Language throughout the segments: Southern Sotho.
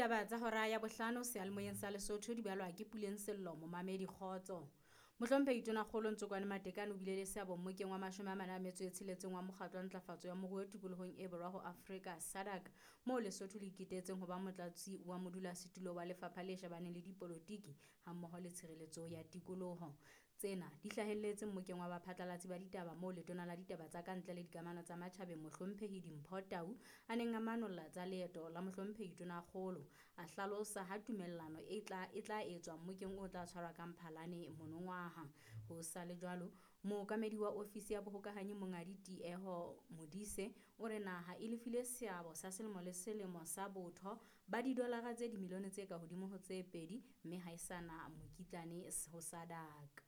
Ditaba tsa hora ya bohlano seyalemoyeng sa Lesotho di balwa ke Puleng Sello, momamedi kgotso. Mohlomphehi Tonakgolo Ntsokoane Matekane o bile le seabo mmokeng wa 46 wa Mokgatlo wa Ntlafatso ya Moruo Tikolohong e Borwa ho Afrika, SADC, moo Lesotho le iketetseng ho ba motlatsi wa modulasetulo wa lefapha le shebaneng le dipolotiki hammoho le tshireletso ya tikoloho. Tsena di hlahelletse mmokeng wa baphatlalatsi ba ditaba moo letona la ditaba tsa ka ntle le dikamano tsa matjhabeng Mohlomphehi Dimpho Tau a neng a manolla tsa leeto la Mohlomphehi Tonakgolo. A hlalosa ha tumellano e tla e tla etswa mmokeng o tla tshwarwa ka Mphalane monongwaha. Ho sa le jwalo, mookamedi wa ofisi ya bohokahanyi Monghadi Tieho Modise o re naha e lefile seabo sa selemo le selemo sa botho ba didolara tse dimilione tse ka hodimo ho tse pedi mme ha e sa na mokitlane ho SADC.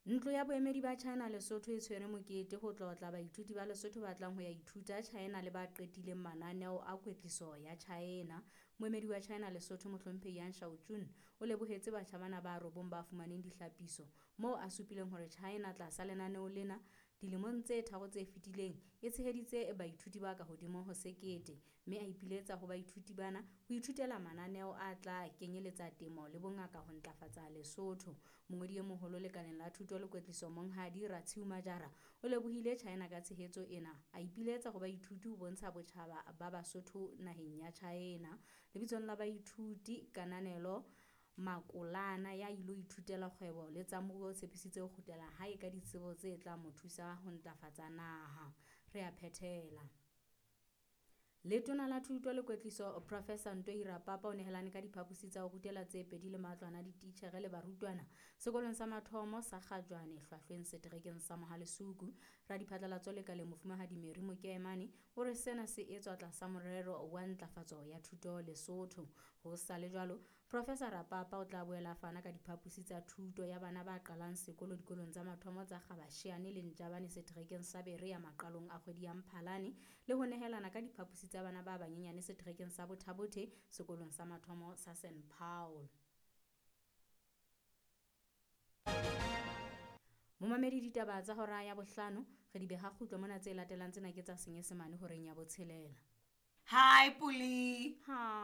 Ntlo ya boemedi ba China Lesotho e tshwere mokete ho tlotla baithuti ba Lesotho ba tlang ho ya ithuta China le ba qetileng mananeo a kwetliso ya China. Moemedi wa China Lesotho Mohlomphehi Yang Shaojun o lebohetse batjha bana ba robong ba fumaneng dihlapiso moo a supileng hore China tlasa lenaneo lena dilemong tse tharo tse fetileng e tsheheditse baithuti ba ka hodimo ho 1000 mme a ipiletsa ho baithuti bana ho ithutela mananeo a tla kenyeletsa temo le bongaka ho ntlafatsa Lesotho. Mongodi e moholo lekaleng la thuto le kwetliso Monghadi Ratshiu Majara o lebohile China ka tshehetso ena, a ipiletsa ho baithuti ho bontsha botjhaba ba Basotho naheng ya China. Lebitsong la baithuti Kananelo Makolana ya ilo ithutela kgwebo le tsa moruo o tshepisitse ho kgutlela hae ka ditsebo tse tla mo thusa ho ntlafatsa naha. Re a phethela. Letona la Thuto le Kwetliso Professor Ntoi Rapapa o nehelane ka diphaposi tsa ho rutela tse pedi le matlwana a dititjhere le barutwana sekolong sa mathomo sa Kgajwane Hlwahlweng seterekeng sa Mohalesuku. Radiphatlalatso lekaleng Mofumahadi Mary Mokemane o re sena se etswa tlasa morero wa ntlafatso ya thuto Lesotho. Ho sa le jwalo, Professor Rapapa o tla boela a fana ka diphaposi tsa thuto ya bana ba qalang sekolo dikolong tsa mathomo tsa Kgabasheane le Ntjabane seterekeng sa Berea maqalong a kgwedi ya Mphalane le ho nehelana ka diphaposi tsa bana ba banyenyane seterekeng sa Bothabothe sekolong sa mathomo sa St Paul. Momamedi ditaba tsa hora ya bohlano re di beha kgutlo mona, tse latelang tsena ke tsa Senyesemane horeng ya botshelela. Hi Puli. Hi.